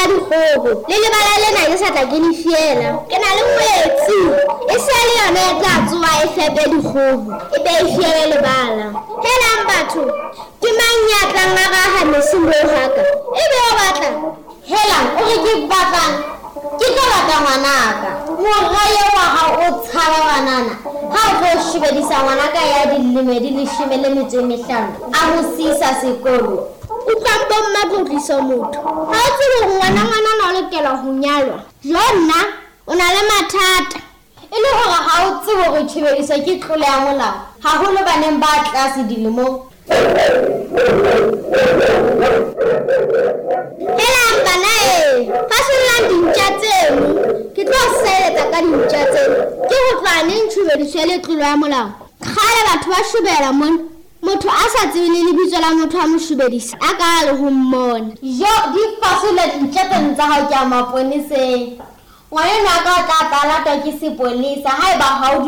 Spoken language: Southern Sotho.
dikgoho. Le lebala lena ke sa tla ke le fiela. Ke na le ngwetsi. E se le yona e tla tsoha e fepe dikgoho, e be e fiele lebala. Helang batho, ke mang ya tlang a raha mesi moo haka? E be o batla? Helang, o re ke batlang? Ke tlo lata ngwanaka. Mora eo wa hao o tshaba banana. Ha o tlo shebedisa ngwanaka ya dilemo di leshome le metso e mehlano, a mo siisa sekolo. Utlwang bomma tlotliso motho. Ha o tsebe hore ngwana ngwanana o lokela ho nyalwa. Jo nna, o na le mathata. E le hore ha o tsebe hore tjhebediso ke tlolo ya molao, haholo baneng ba tlase dilemong. Helang bana e, fasollang dintja tseno. Ke tlo seletsa ka dintja tseno. Ke ho tloha neng tjhobediso e le tlolo ya molao? Kgale batho ba shobela mona. Motho a sa tsebe le lebitso la motho a mo shobedisa, a ka le ho mmona. Jo, di fasolla dintja tseno tsa hao ke ya maponeseng. Ngwanenwa ka o tla tla latwa ke sepolesa haeba ha o.